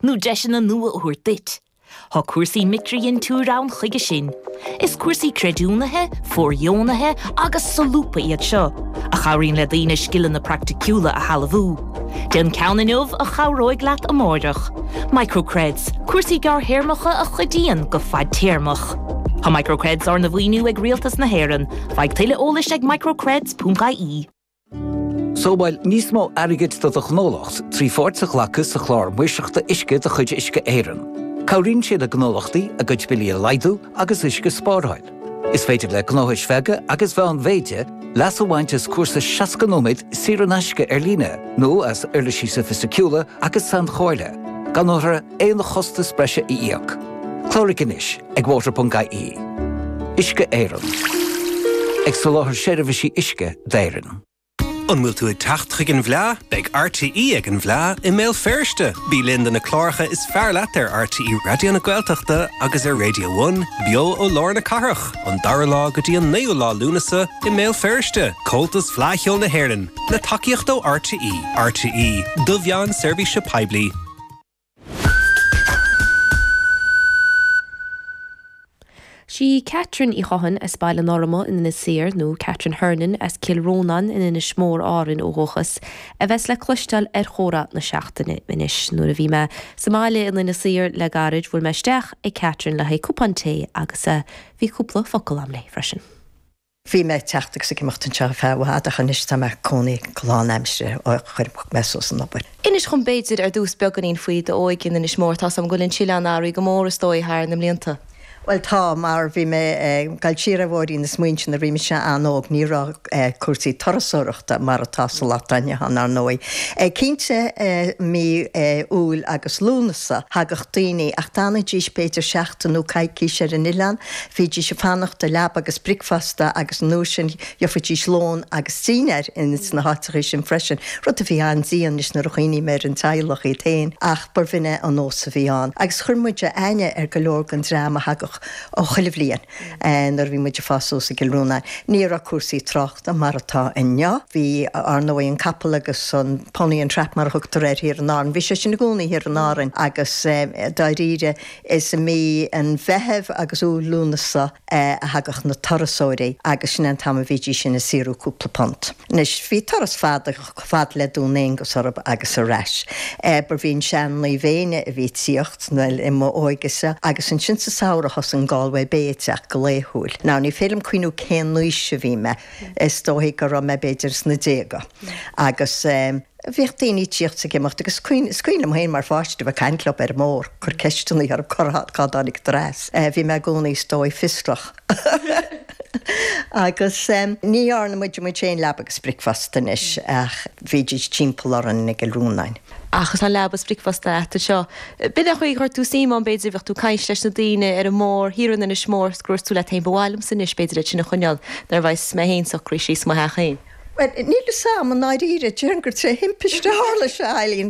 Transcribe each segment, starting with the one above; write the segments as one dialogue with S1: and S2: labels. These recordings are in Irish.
S1: nó deiseanna nua a thabhairt duit? Tá cúrsaí micridhintiúir ann chuige sin. Is cúrsaí creidiúnaithe, fóirdheonaithe agus solúbtha iad seo, a chabhraíonn le daoine scileanna praiticiúla a shealbhú. Déan ceann inniu a chabhróidh leat amárach. MicroCreds, cúrsaí gearrthéarmacha a chuidíonn go fadtéarmach. Tá MicroCreds arna mhaoiniú ag Rialtas na hÉireann. Faigh tuilleadh eolais ag microcreds.ie.
S2: Sábháil níos mó airgid do do ghnólacht trí pháirt a ghlacadh sa Chlár Maoirseachta Uisce de chuid Uisce Éireann. Cabhraíonn sé le gnólachtaí a gcuid billí a laghdú agus uisce a spáráil. Is féidir le gnóthais bheaga agus mheánmhéide leas a bhaint as cúrsa 60 nóiméad saor in aisce ar líne nó as uirlisí sofaisticiúla agus sainchomhairle, gan orthu aon chostas breise a íoc. Cláraigh anois ag water.ie. Uisce Éireann. Ag soláthar seirbhísí uisce d'Éirinn.
S3: An bhfuil tú ag teacht chuig an bhFleá? Beidh RTÉ ag an bhFleá i mBéal Feirste! Bí linn do na cláracha is fearr leat ar RTÉ Raidió na Gaeltachta agus ar Radio One, beo ó lár na cathrach, ón dara lá go dtí an naoú lá Lúnasa i mBéal Feirste. Comhaltas Fleadh Cheoil na hÉireann, le tacaíocht ó RTÉ. RTÉ, do mheán seirbhíse poiblí.
S4: Sí Catherine Uí Chothain as Baile an Fhorma in Inis Oírr, nó Catherine Hernon as Cill Rónáin in Inis Mór, Árainn ó dhúchas, a bheas le cloisteáil ar Chomhrá na Seachtaine anois. Nuair a bhí mé sa mbaile in Inis Oírr le gairid, bhuail mé isteach ag Catherine le haghaidh cupán tae agus bhí cúpla focal a'm léi freisin.
S5: Bhí mé ag teacht agus ag imeacht anseo ar feadh i bhfad ach anois tá mé ag cónaí go lánaimseartha ó chuir mé suas an obair.
S4: Inis dhom b'fhéidir ar dtús beagáinín faoi d'óige in Inis Mór. Tá's a'm go bhfuil an t-oileán athraithe go mór is dóigh thar na mblianta.
S5: Bhuel tá, mar bhí mé ag dul siar ar bhóithrín na smaointe nuair a bhí mise an-óg ní raibh cúrsaí turasóireachta mar atá sa lá atá inniu ann ar ndóigh. Cinnte mí Iúil agus Lúnasa thagadh daoine ach d'fhanaidís b'fhéidir seachtain nó coicís ar an oileán Bhídís ag fanacht do leaba agus bricfeasta agus an uair sin gheofaidís lón agus dinnéar ins na háiteachaí sin freisin, rud a bhí an-dian anois nuair a chuimhním ar an teaghlach iad féin ach b'in é an nós a bhí ann. Agus chuir muid aithne ar go leor den dream a thagadh chuile bhliain nuair a bhí muid ag fás suas i gCill Rónáin. Ní raibh cúrsaí tráchta mar atá inniu. Bhí, ar ndóigh, an capall agus an pony and trap mar a thugtar air thiar in Árainn. Bhí sé sin i gcónaí thiar in Árainn agus dáiríre, Is i mí an Mheithimh agus Iúil Lúnasa a thagadh na turasóirí agus sin é an t-am a bhídís sin ag saothrú cúpla punt. Anois, bhí turas fada chomh fada le Dún Aonghasa orthu agus ar ais. B'in an sean Naomh Éinne a bhí ag tíocht, bhuel, i m'óige-sa, agus ansin sa samhradh thosaigh an Galway Bay ag teacht go laethúil. Now, ní féidir liom cuimhniú cén aois a bhí mé, is dóigh go raibh mé b'fhéidir sna déaga agus. Bhíodh daoine ag tíocht 's ag imeacht agus is cuimhin liom féin mar pháiste a bheith ag caint leo ar an mbóthar, cur ceisteanna orthu cá dtáinigeadar as. Bhí mé i gcónaí is dóigh fiosrach. Agus ní dhearna muid muid féin leaba agus bricfeasta anois ach bhídís timpeall orainn i gCill Rónáin.
S4: Ach tá leaba is bricfeasta a't anseo. B'in é an chaoi a chuir tú suim ann b'fhéidir, bheadh tú ag caint leis na daoine ar an mbóthar thiar in Inis Mór 's go ndúirt tú leat féin ba mhaith liomsa anois b'fhéidir iad sin a choinneáil nuair a bheas mé féin socraithe síos i mo theach féin.
S5: Bhuel, níl fhios a'm i ndáiríre, déarfainn gur tré thimpiste a tharla sé, a Eileen.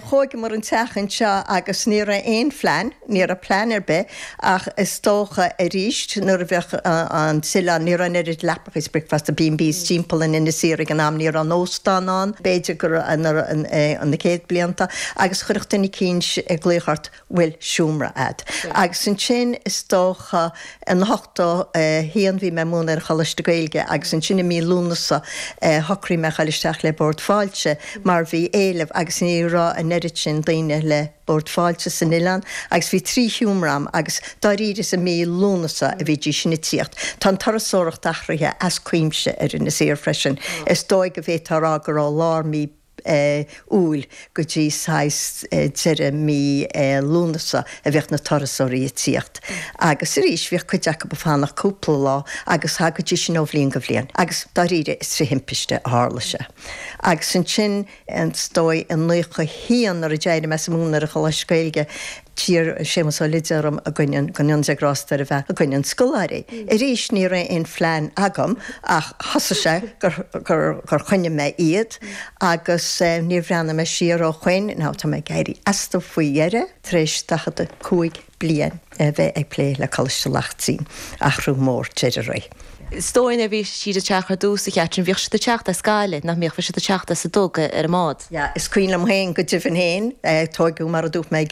S5: Thóigeamar an teach anseo agus ní raibh aon phlean, ní raibh plean ar bith ach is dócha arís nuair a bheadh an t-oileán, ní raibh an oiread leapacha is bricfeasta, B&Bs timpeall in Inis Oírr ag an am, ní raibh an óstán ann, b'fhéidir go raibh na céad blianta agus chuirfeadh duine eicínt glaoch ort, bhfuil seomra a'd. Agus ansin is dócha in 81 bhí mé ag múineadh ar an Choláiste Gaeilge agus ansin i mí Lúnasa shocraigh mé a ghoil isteach le Bord Fáilte mar bhí éileamh agus ní raibh an oiread sin daoine le Bord Fáilte san oileán agus bhí 3 sheomra a'm agus dáiríre is i mí Lúnasa a bhídís sin ag tíocht. Tá an turasóireacht athraithe as cuimse ar Inis Oírr freisin. Is dóigh go bhféadfá a rá go raibh lár mí Iúil go dtí saghas deireadh mí Lúnasa a bhíodh na turasóirí ag tíocht. Agus arís bhíodh cuid acu ag fanacht cúpla lá agus thagaidís sin ó bhliain go bhliain. Agus dáiríre is trí thimpiste a tharla sé. Agus ansin is dóigh i 91 nuair a d'éirigh mé as ag múineadh ar an Choláiste Gaeilge, D'iarr Séamus Ó Loideáin orm i gcoinne an, go ndéana Dia grásta air a bheith i gcoinne an scoláirí. Arís ní raibh aon phlean agam ach thosaigh sé gur, gur, gur choinnigh mé iad agus níor bhreathnaigh mé siar ó shoin. Now tá mé ag éirí astu faoi dheireadh tar éis 45 bliain a bheith ag plé le Coláiste Laichtín. Athrú mór deireadh ré.
S4: Is dóigh nuair a bhí siad ag teacht ar dtús, a Chatherine, bhíodh siad ag teacht as Gaillimh, nach mbíodh? Bhí siad ag teacht as an dTug ar an mbád.
S5: Yeah, is cuimhin liom féin go deimhin féin, tóigeadh mar a dúirt mé.